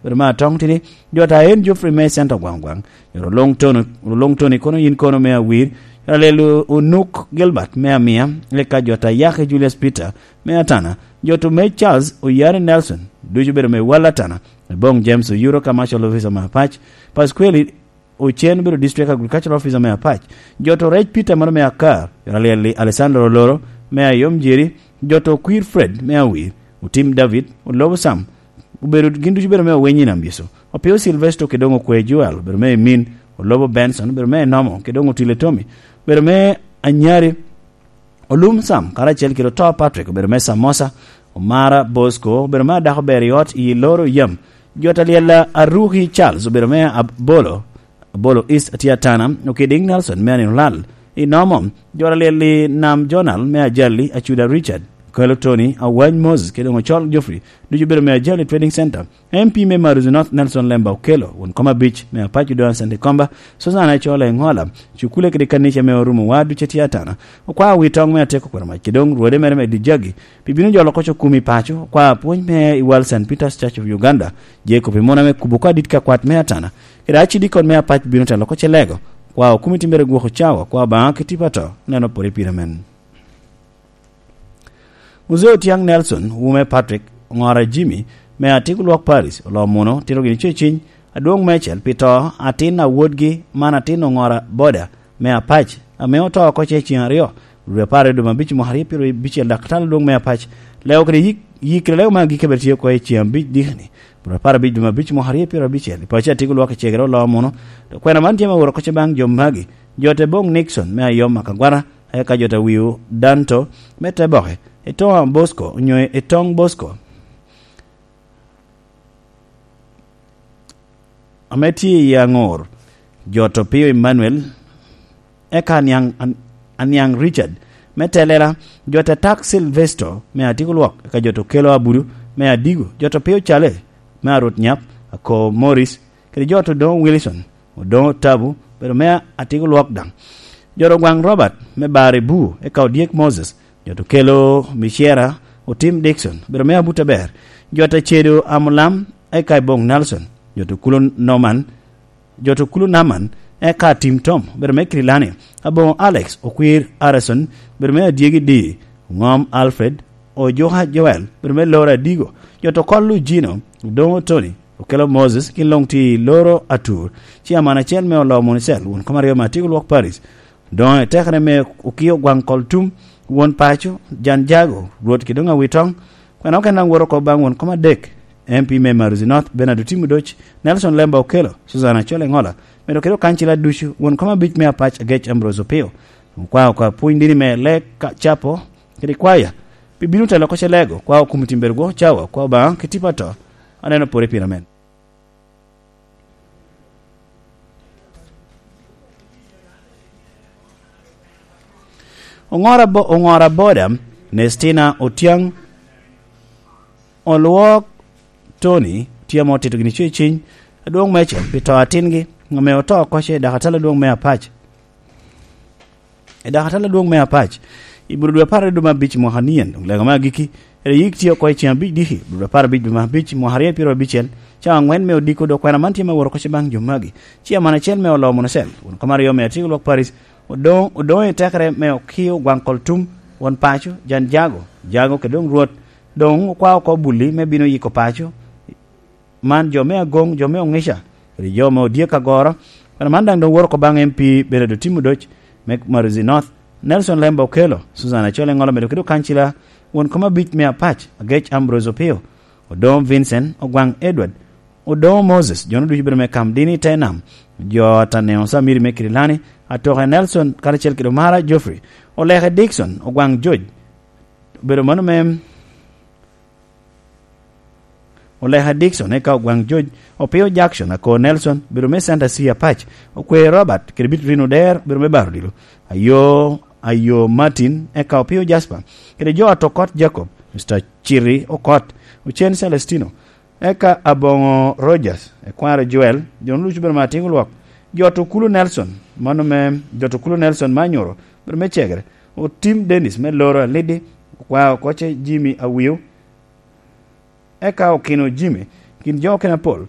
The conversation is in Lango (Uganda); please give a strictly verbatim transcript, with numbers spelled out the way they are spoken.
Rema Atong Tidi, jota en Geoffrey me Center Gwang Gwang, jota Olong Tony, Olong Tony kono yin kono me Awir, jota Lel Onuk Gilbert me Amia, eka jota Yaki Julius Peter me Atana, jota me Charles Oyare Nelson, ducu bedo me Wal Atana, Ebong James Oyuro Commercial Officer me Apac, Pasquale Ocen bedo District Agricultural Officer me Apac, jota Rec Peter mano me Akar, jota Lel Alessandro Oloro me Ayom Jeri, jota Okwir Fred me Awir, Otim David, Olobo Sam, obedo, gin ducu bedo me Owiny i Nambiso. Opio Silvesto kede doŋ Okwe Joel, obedo me Emin, Olobo Benson, obedo me Enomo, kede doŋ Otile Tommy, obedo me Anyari, Olum Sam, karacel kede Oto Patrick, obedo me Samosa, Omara Bosco, obedo me Adako Ber i Ot i Loro Yam, jota Lyella Aruki Charles, obedo me Abolo, Abolo East Atiatana, Okiding Nelson me Anino Lal, i Nomo, jota Lyelli Nam Jonal me Ajali, Acuda Richard, Kelo Tony, Awany Moses, kede doŋ Ocol Geoffrey, ducu bedo me Ajali Trading Center. M P me Maruzi North Nelson Lemba Okelo, won kom abic me Apac Odongo Santi Komba, Suzana Ecole Engola, cukule kede kanica me Orumo wa ducu tye Atana, okwao wi toŋ me Ateko Kwero Mac, kede doŋ rwode mere me Dijagi, pi bino jolo koc okumi paco, okwao pwony me i wal Saint Peter's Church of Uganda, Jacob i mona me kubo oko adit ka kwat me Atana, kede acidikon me Apac bino telo koc elego, okwao okumi timbere gwoko cawa, okwao Obaŋa ki tipo ato, neno pwod i pire men. Muzee Otiaŋ Nelson, wume Patrick, Oŋora Jimmy, me Atiko Lwok Paris, oloo muno, tito gini ceciny, adwoŋ meicel pi to, atin a wodgi, man atin Oŋora Boda, me Apac, ame oto oko ce ceŋ aryo, dwe apar i dwe me abic mwaka aryo pyero abicel, dak talo adwoŋ me Apac, leo kede yik, yik kede leo me agikki abed tye oko i ceŋ abic dikni, dwe apar abic dwe me abic mwaka aryo pyero abicel, i paco Atiko Lwok i cegere oloo muno, to kwena man tye me woro koc baŋ jo magi, jo te boŋ Nixon, me Ayom Akagwara, eka jo te wiu Danto, me te boke, i toŋ Bosco, onyo i toŋ Bosco, ame tye i Aŋor, jo to Pio Emmanuel, eka aniaŋ, an-, aniaŋ Richard, me telela, jo te tak Silvesto, me Atiko Lwok, eka jo to Kelo Abudu, me Adigo, jo to Pio Cale, me Arut Nyap, Ako Morris, kede jo to Doŋo Wilson, Odoŋo Tabu, bedo me Atiko Lwok daŋ. Jo to Gwaŋ Robert, me Bari Bu, eka Odyek Moses, jo to Kelo Micera, Otim Dixon, bedo me Abuta Ber, jo to Cedo Amulam, eka Iboŋ Nelson, jo to Kulo Norman, jo to Kulo Naman, eka Tim Tom, bedo me Kirilani, Aboŋo Alex, Okwir Harrison, bedo me Adyegi Di, Ŋom Alfred, Ojuka Joel, bedo me Loro Adigo, jo to Kol Lujino, Odoŋo Tony, Okelo Moses, gin luŋ tye i Loro Atur, Ciaman acel me Oloo Municel, won kom aryo me Atiko Lwok Paris, Doŋ i tekere me Okio Gwaŋ Kol Tum, won paco, Jan Jago, Rwot Kidoŋ Awitoŋ, kwena okene daŋ woro oko baŋ won kom adek, M P me Maruzi North, Bernard Otim Odoc, Nelson Lemba Okelo, Suzana Acol Eŋola, medo kede okancila ducu, won kom abic me Apac Agec Ambrose Opio, okwao oko apwony dini me Lek Capo, kede kwaya, pi bino telo oko ce lego, kwao kom otim bedo gwoko cawa, kwao Obaŋa ki tipo ato, aneno pwod i pire men. Oŋora bo-, oŋora boda, Nestina Otiaŋ, Olwok Tony, tye ame otito gini ceciny, adwoŋ meicel, pi to atingi, ame oto oko ce, dak atalo adwoŋ me Apac. I dak atalo adwoŋ me Apac, i bur dwe apar i dwe me abic mwaka nien, doŋ lego me agikki, ere yik tye oko i ceŋ abic diki, bur dwe apar abic dwe me abic mwaka aryo pyero abicel, cawa aŋwen me odiko dok kwena man tye me woro koc baŋ jo magi. Ciaman acel me Oloo Municel, won kom aryo me Atiko Lwok Paris, Odoŋ, Odoŋ i tekere me Okio Gwaŋ Kol Tum, won paco, Jan Jago, Jago kede doŋ Rwot, doŋ okwao oko bulli me bino yiko paco, man jo me Agoŋ, jo me Oŋica, kede jo me Odyek Agoro, kwena man daŋ doŋ woro oko baŋ M P Bernard Otim Odoc, me Maruzi North, Nelson Lemba Okelo, Susan Acol Eŋolo medo kede okancila, won kom abic me Apac, Agec Ambrose Opio, Odoŋo Vincent, Ogwaŋ Edward, Odoŋo Moses, jo-nu ducu bedo me Kam Dini i te nam, jo Ataneo Samiri me Kirilani, Atoke Nelson, karacel kede Omara Geoffrey, Oleke Dickson, Ogwaŋ George, obedo mano me Oleke Dickson, eka Ogwaŋ George, Opio Jackson, Ako Nelson, obedo me Santa C Apac, Okwe Robert, kede Bitrino Der, obedo me Baro Odilo, Ayo, Ayo Martin, eka Opio Jasper, kede jo Ato Kot Jacob, Mister Chiri Okot, Ocen Celestino, eka Aboŋo Rogers, Ekwaro Joel, jo-nu ducu bedo me Atiko Lwok, jo Ato Kulu Nelson, mano me, jo Ato Kulu Nelson me Anyoro, bedo me Cegere, Otim Dennis me Loro Alidi, Okwao Koce Jimmy Awio, eka Okino Jimmy, kin jo okene apol,